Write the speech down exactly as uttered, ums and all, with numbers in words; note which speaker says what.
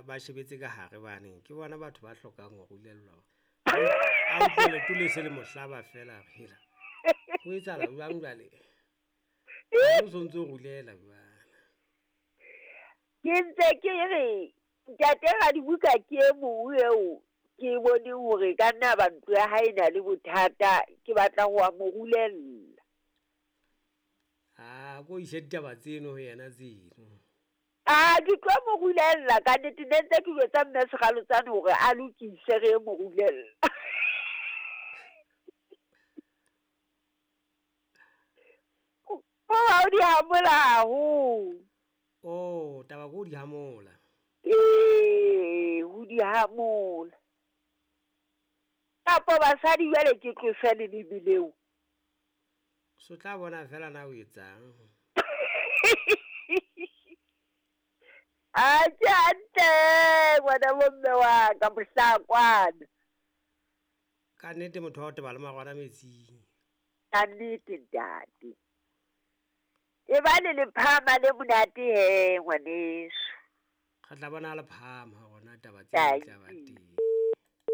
Speaker 1: ba shebetse ka hare bane ke bona batho ba hlokang ho rulellwa. A utlwe leoto le se le mo hlaba feela a re hela. Ho etsahala jwang jwale? O so ntso rulela jwale.
Speaker 2: Ke ntse ke re ntate Radibuka ke e mong eo ke boneng hore ka nna ba ntlo ya hae e na le bothata, ke batla ho wa mo rulella.
Speaker 1: Ah, ko ise ditaba tseno ho yena tseno.
Speaker 2: Ah, ke tlo mo rulella ka nnete, ne ntse ke jwetsa mme Sekgalotsane hore a lokise re mo rulella. O di hamola haholo.
Speaker 1: Oh, taba ko di hamola.
Speaker 2: Ee, ho di hamola. Kapa basadi jwale ke tlose leleme leo.
Speaker 1: So tla bona fela na o etsang.
Speaker 2: A ke hantle ngwana bomme wa ka mohlakwana.
Speaker 1: Ka nnete motho wa ho teba le marwana metsing.
Speaker 2: Ka nnete ntate. E ba le lephama le monate he ngwaneso.
Speaker 1: Re tla bona le phama hore na taba tseo di tla ba teng.